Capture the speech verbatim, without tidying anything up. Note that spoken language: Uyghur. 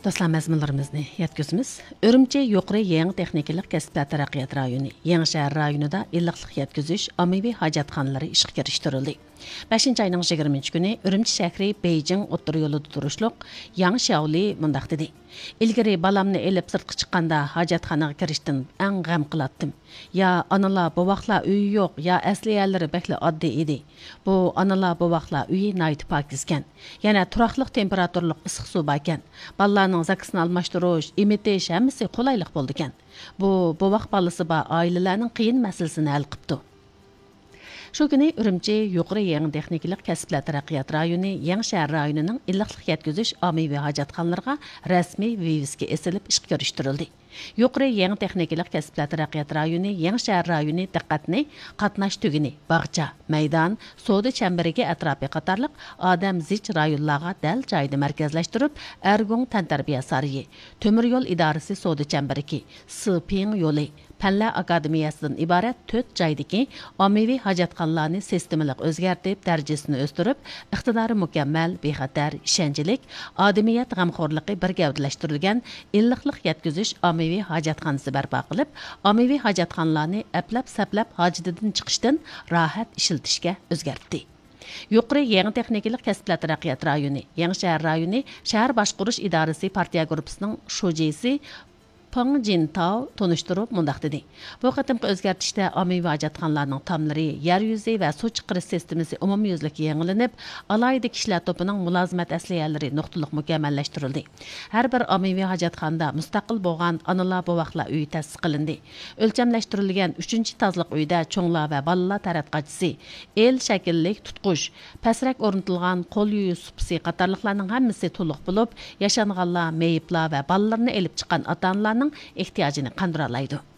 دوستلار، مەزمۇنلىرىمىزنى يەتكۈزىمىز. ئۈرۈمچى يۇقىرى يېڭى تېخنىكىلىق كەسىپلەر تەرەققىيات رايونى يېڭى شەھەر رايونىدا ئىللىقلىق يەتكۈزۈش ئاممىۋى ھاجەتخانىلىرى ئىشقا كىرىشتۈرۈلدى. بەشىنچى ئاينىڭ يىگىرمىنچى كۈنى ئۈرۈمچى شەھىرى بېيجىڭ ئوتتۇرا يولىدا تۇرۇشلۇق ياڭ شياۋلى مۇنداق دېدى: «ئىلگىرى بالامنى ئېلىپ سىرتقا چىققاندا ھاجەتخانىغا كىرىشتىن ئەڭ غەم قىلاتتىم. يا ئانىلار، بوۋاقلار ئۆيى يوق، يا ئەسلىھەلىرى بەكلا ئاددىي ئىدى. بۇ ئانىلار، بوۋاقلار ئۆيى ناھايىتى پاكىزكەن. يەنە تۇراقلىق تېمپېراتۇرىلىق ئىسسىق سۇ باركەن. بالىلارنىڭ زاكىسىنى ئالماشتۇرۇش، ئېمىتىش ھەممىسى قولايلىق بولىدىكەن. بۇ بوۋاق بالىسى بار ئائىلىلەرنىڭ قىيىن مەسىلىسىنى ھەل قىپتۇ.» شۇ كۈنى ئۈرۈمچى يۇقىرى يېڭى تېخنىكىلىق كەسىپلەر تەرەققىيات رايونى يېڭى شەھەر رايونىنىڭ ئىللىقلىق يەتكۈزۈش ئاممىۋى ھاجەتخانىلىرىغا رەسمىي ۋىۋىسكا ئېسىلىپ ئىشقا كىرىشتۈرۈلدى. يۇقىرى يېڭى تېخنىكىلىق كەسىپلەر تەرەققىيات رايونى يېڭى شەھەر رايونى دىققەتنى قاتناش تۈگۈنى، باغچە، مەيدان، سودا چەمبىرىكى ئەتراپى قاتارلىق ئادەم زىچ رايونلارغا دەل جايىدا مەركەزلەشتۈرۈپ، ئەرگۇڭ تەنتەربىيە سارىيى، تۆمۈر يول ئىدارىسى سودا چەمبىرىكى، سىپىڭ يولى، پەنلەر ئاكادېمىيەسىدىن ئىبارەت تۆت جايدىكى ئاممىۋى ھاجەتخانىلارنى سىستېمىلىق ئۆزگەرتىپ، دەرىجىسىنى ئۆستۈرۈپ، ئىقتىدارى مۇكەممەل، بىخەتەر، ئىشەنچلىك، ئادىمىيەت غەمخورلۇقى بىر گەۋدىلەشتۈرۈلگەن ئىللىقلىق يەتكۈزۈش ئاممىۋى ھاجەتخانىسى بەرپا قىلىپ، ئاممىۋى ھاجەتخانىلارنى ئەپلەپ-سەپلەپ ھاجىتىدىن چىقىشتىن راھەت ئىشلىتىشكە ئۆزگەرتتى. يۇقىرى يېڭى تېخنىكىلىق كەسىپلەر تەرەققىيات رايونى، يېڭى شەھەر رايونى شەھەر باشقۇرۇش ئىدارىسى پارتىيە گۇرۇپپىسىنىڭ شۇجىسى پېڭ جىنتاۋ تونۇشتۇرۇپ مۇنداق دېدى: «بۇ قېتىمقى ئۆزگەرتىشتە ئاممىۋى ھاجەتخانىلارنىڭ تاملىرى، يەر يۈزى ۋە سۇ چىقىرىش سىستېمىسى ئومۇميۈزلۈك يېڭىلىنىپ، ئالاھىدە كىشىلەر توپىنىڭ مۇلازىمەت ئەسلىھەلىرى نۇقتىلىق مۇكەممەللەشتۈرۈلدى. ھەر بىر ئاممىۋى ھاجەتخانىدا مۇستەقىل بولغان ئانىلار، بوۋاقلار ئۆيى تەسىس قىلىندى. ئۆلچەملەشتۈرۈلگەن ئۈچىنچى تازىلىق ئۆيدە چوڭلار ۋە بالىلار تاراتقۇچىسى، ئېل شەكىللىك تۇتقۇچ، پەسرەك ئورنىتىلغان قول يۇيۇش سۇپىسى قاتارلىقلارنىڭ ھەممىسى تولۇق بولۇپ، ياشانغانلار، مېيىپلار ۋە بالىلىرىنى ئېلىپ چىققان ئاتا-ئانىلارنىڭ ئېھتىياجىنى قاندۇرالايدۇ.»